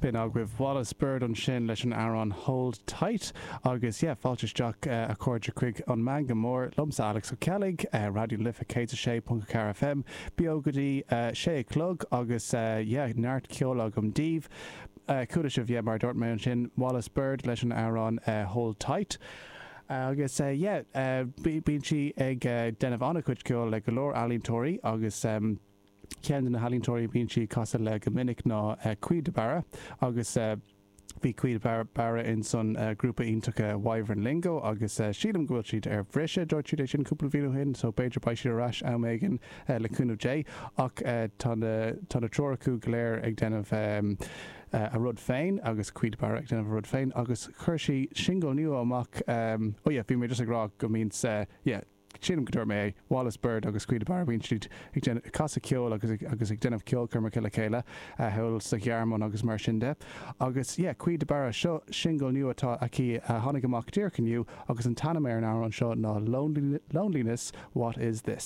B'in agaibh Wallis Bird ansin leis an amhrán Hold Tight agus yeah fáilte isteach a chairde chuig an Meangadh Mór liomsa Alex Ó Ceallaigh, Raidió na Life 106.4 FM, beo go dtí sé a chlog agus yeah neart ceoil agam daoibh. Chuala sibh yeah mar a dúirt mé ansin Wallis Bird leis an amhrán Hold Tight. Agus yeah bíonn sí ag déanamh an-chuid ceoil le go leor ealaíontóirí agus. Ceann de na healaíontóirí a bhíonn sí ag casadh le go minic ná Caoimhe de Barra agus bhí Caoimhe de Barra ins an grúpa iontach Wyvern Lingo agus sílim go bhfuil siad ar bhriseadh, dúirt siad é sin cúpla bhliain ó shin so b'fhéidir beidh siad ar ais am éigin le cúnamh Dé ach tá na tá na triúr acu go léir ag déanamh a rud féin agus Caoimhe de Barra ag déanamh a rud féin agus chuir sí singil nua amach oh yeah bhí mé just ag rá go mbíonn yeah Sílim go dúirt mé é, Wallis Bird agus Caoimhe de Barra, bíonn siad ag déanamh, ag casadh ceoil agus ag, agus ag déanamh ceolchoirmeacha le chéile, thall sa Ghearmáin agus mar sin de. Agus yeah, Caoimhe de Barra, seo singil nua atá aici a tháinig amach díreach inniu agus an t-ainm ar an amhrán seo ná Loneliness, What Is This?